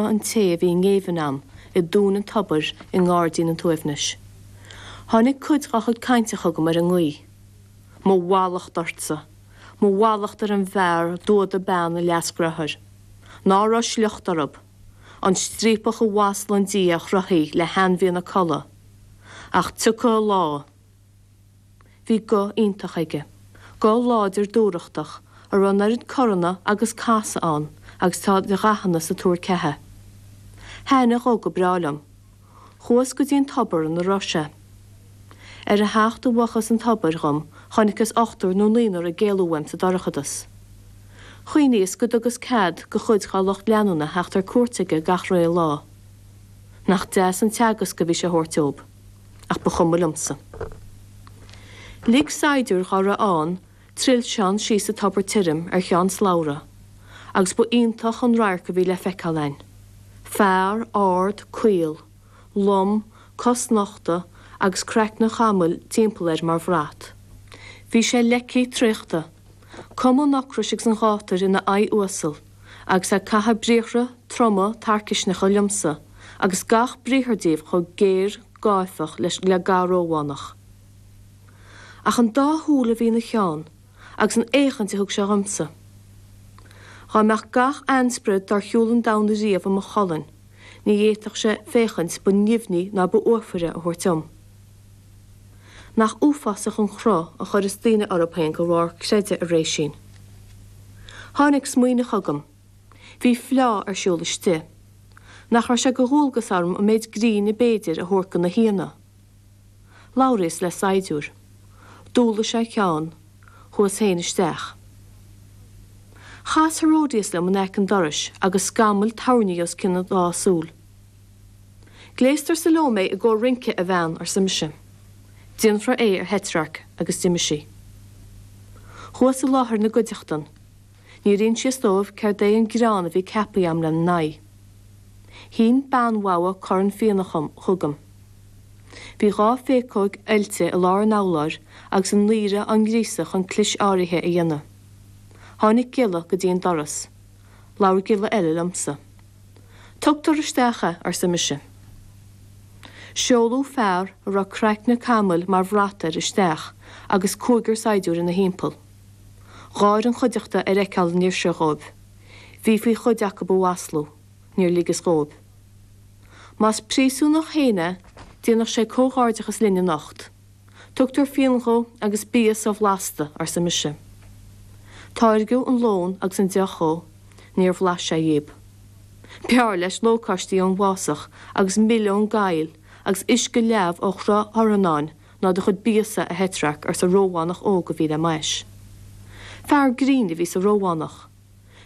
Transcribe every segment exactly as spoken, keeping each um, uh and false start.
an té a bhí i ngéibheann a'm i dtóin an tobair i ngairdín an tsuaimhnis. Tháinig cuid dá chuid cainte chugam ar an ngaoth. Mo mhallacht ortsa, mo mhallacht ar an bhfear a d'fhuadaigh bean a leasdhearthár. Ná raibh sliocht orthu, an striapach a mhaslaíonn Dia a chruthaigh le hainmhíonna colla. Ach tiocfaidh a lá. Bhí guth iontach aige, guth láidir dúthrachtach, a raibh an oiread corranna agus casadh ann agus tá de dhathanna sa tuar ceatha. Thaithin a ghuth go breá liom. Chuas go dtí an tobar ina raibh sé. Ar a theacht i bhfochas an tobair dhom chonaiceas ochtar nó naonúr ag éalú uaim sa dorchadas. Chuimhníos go dtugas cead do chuid dá lucht leanúna theacht ar cuairt aige gach ré lá. Nach deas an teagasc a bhí sé a thabhairt dóibh, ach ba chuma liomsa. Lig saighdiúir dhá raibh ann trilseán síos sa tobar tirim ar cheann slabhra, agus ba iontach an radharc a bhí le feiceáil a'inn. Fear ard caol, lom, cosnochta agus craiceann camaill timpeall air mar bhrat. Bhí sé leicthe traochta, cuma an ocrais agus an ghátair ina aghaidh uasal, agus ag caitheamh briathra troma tarcaisneacha liomsa, agus gach briathar díobh chomh géar gáifeach leis le ga Rómhánach. Ach an dá shúil a bhí ina cheann, agus an fhéachaint a thug sé dhomsa. Dá mbeadh gach ainsprid dár shiúil an domhan riamh i mo cholainn, ní fhéadfadh sé féachaint ba nimhní ná ba uafaire a thabhairt dom. Nach uafásach an cruth a chuireas daoine orthu féin de bharr creideamh, a Réisín. Tháinig smaoineamh chugam. Bhí fleá ar siúl istigh. Nach raibh sé de dhualgas orm an méid grinn ab fhéidir a thabhairt do na haíonna. Labhraíos le saighdiúir. D'ualaigh sé a cheann, chuas féin isteach. Chas Herodias liom in aice an dorais agus scamaill toirní os cionn a dhá súil. Gléastar Salómé i gcomhair rince, a bhean, arsa mise. Déanfar é, ar Heitrearc agus d'imigh sí. Chuas i láthair na gcuideachtan. Níor insíos dóibh céard é an greann a bhí ceaptha a'm lena n-aghaidh. Shín bean mhogha corn fíona chugam. Bhí dhá phéacóg oilte i lár an urláir agus a ndaoire á ngríosadh chun clis áirithe a dhéanamh. Tháinig giolla go dtí an doras. Labhair giolla eile liomsa. Tugtar isteach é, arsa mise. Seoladh fear a raibh craiceann camaill mar bhrat air isteach agus cúigear saighdiúir ina thimpeall. Gháir an chuideachta ar fheiceáil an fhir seo dhóibh. Bhí faoi chuid acu a mhaslú, níor ligeas dhóibh. Más príosúnach féin é, déanadh sé comhghairdeachas linn anocht. Tugtar fíon dhó agus bia so-bhlasta, arsa mise. Táirgeadh an lón agus an deoch dhó, níor bhlais sé dhíob. B'fhearr leis lócaistí ón bhfásach agus mil ón gcoill agus uisce leamh ó shruth Iordáin ná do chuid bia-sa, a Heitrearc, arsa Rómhánach óg a bhí le m'ais. Fear grinn a bhí sa Rómhánach.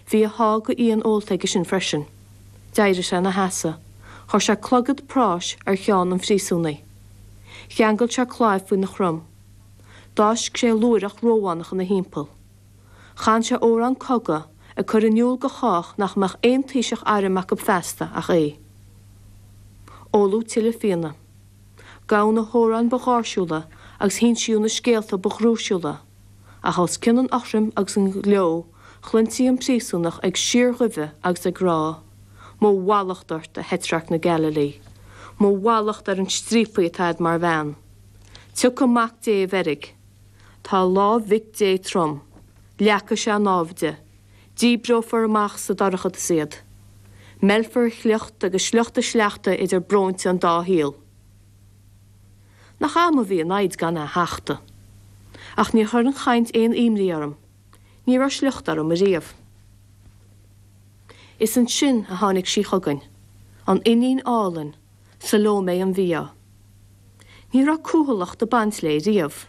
Bhí a sháith de fhíon ólta aige sin freisin. D'éirigh sé ina sheasamh. Chuir sé clogad práis ar cheann an phríosúnaigh. Cheangail sé claíomh faoina chrom. D'fháisc sé lúireach Rómhánach ina thimpeall. Chan sé amhrán cogaidh, ag cur in iúl do chách nach mbeadh aon taoiseach airm acu feasta ach é. Óladh tuilleadh fíona. Gabhadh na hamhráin ba gháirsiúla agus hinsíodh na scéalta ba dhrúisiúla, ach os cionn an fhothraim agus an ghleo chluintí an príosúnach ag síorghuibhe agus ag rá, Mo mhallacht ort, a Heitrearc na Gaililí! Mo mhallacht ar an striapaí atá a'd mar bhean! Tiocfaidh Mac Dé i bhfeirg. Tá lámh Mhic Dé trom. Leagfaidh sé a námhaid. Díbreofar amach sa dorchadas iad. Meilfear a shliocht agus sliocht a sleachta idir bróinte an dá shaol. Nach a'm a bhí an fhoighid gan é a thachtadh. Ach níor chuir an chaint aon imní orm. Ní raibh sliocht orm ariamh. Is ansin a tháinig sí chugainn, an iníon álainn, Salómé an mhí-ádh. Ní raibh cúthaileacht ag baint léi riamh.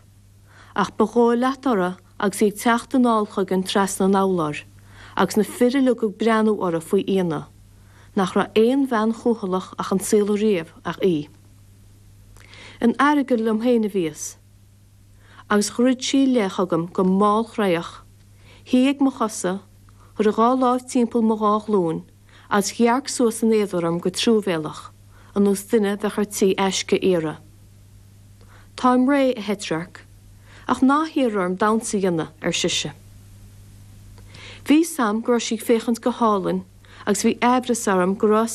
Ach ba dhóigh leat uirthi agus í ag teacht anall chugainn trasna an urláir, agus na fir uilig ag breathnú uirthi faoi ionadh, nach raibh aon bhean chúthaileach ach an saol ariamh ach í. In aireagal liom féin a bhíos. Agus dhruid sí i leith chugam go mallchroíoch, shuigh ag mo chosa, chuir a dhá láimh timpeall mo dhá ghlúin, agus dhearc suas in éadar orm go truamhéalach, ar nós duine bheadh ar tí aisce a iarraidh. Táim réidh, a Heitrearc, ach ná hiarr orm damhsa a dhéanamh, ar sise. Bhí 'fhios a'm go raibh sí ag féachaint go hálainn agus bhí aimhreas orm go raibh